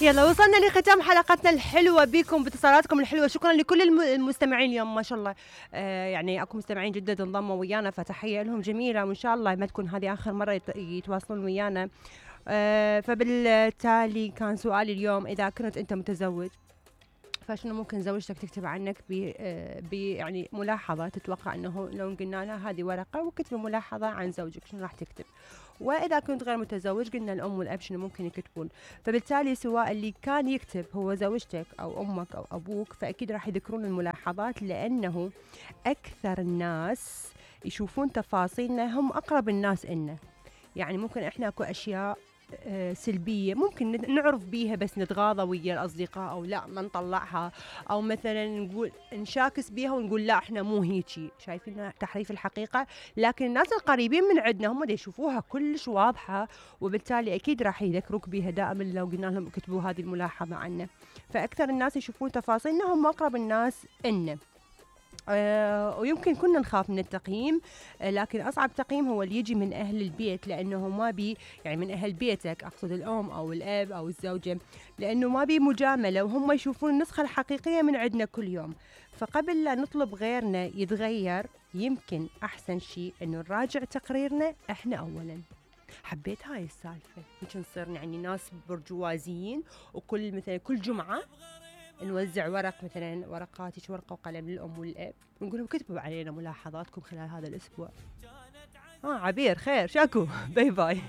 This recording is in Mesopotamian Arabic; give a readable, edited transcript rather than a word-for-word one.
يلا وصلنا لختام حلقتنا الحلوة بكم باتصالاتكم الحلوة. شكرا لكل المستمعين اليوم، ما شاء الله يعني اكو مستمعين جدد انضموا ويانا، فتحية لهم جميلة، وان شاء الله ما تكون هذه اخر مرة يتواصلون ويانا. فبالتالي كان سؤالي اليوم، اذا كنت انت متزوج فشنو ممكن زوجتك تكتب عنك يعني ملاحظة تتوقع انه لو قلنا لها هذه ورقة وكتب ملاحظة عن زوجك شنو راح تكتب؟ واذا كنت غير متزوج قلنا الام والاب شنو ممكن يكتبون؟ فبالتالي سواء اللي كان يكتب هو زوجتك او امك او ابوك فاكيد راح يذكرون الملاحظات، لانه اكثر الناس يشوفون تفاصيلنا هم اقرب الناس إلنا. يعني ممكن احنا اكو اشياء سلبية ممكن نعرف بيها بس نتغاضى ويا الأصدقاء أو لا ما نطلعها، أو مثلا نقول نشاكس بيها ونقول لا احنا مو هيجي، شايفين تحريف الحقيقة. لكن الناس القريبين من عندنا هم اللي يشوفوها كلش واضحة، وبالتالي أكيد راح يذكروك بيها دائما لو قلنا لهم اكتبوا هذه الملاحظة عنا. فأكثر الناس يشوفون تفاصيلنا هم أقرب الناس إلنا. ويمكن كنا نخاف من التقييم، لكن أصعب تقييم هو اللي يجي من أهل البيت، لأنه ما بي يعني من أهل بيتك، أقصد الأم أو الأب أو الزوجة، لأنه ما بي مجاملة وهم يشوفون النسخة الحقيقية من عندنا كل يوم. فقبل لا نطلب غيرنا يتغير يمكن أحسن شيء أنه نراجع تقريرنا إحنا أولا. حبيت هاي السالفة، يمكن نصير يعني ناس برجوازيين، وكل مثلا كل جمعة نوزع ورق، مثلا ورقات ورقة وقلم للأم والأب، ونقول لهم كتبوا علينا ملاحظاتكم خلال هذا الأسبوع. عبير خير شاكو باي باي.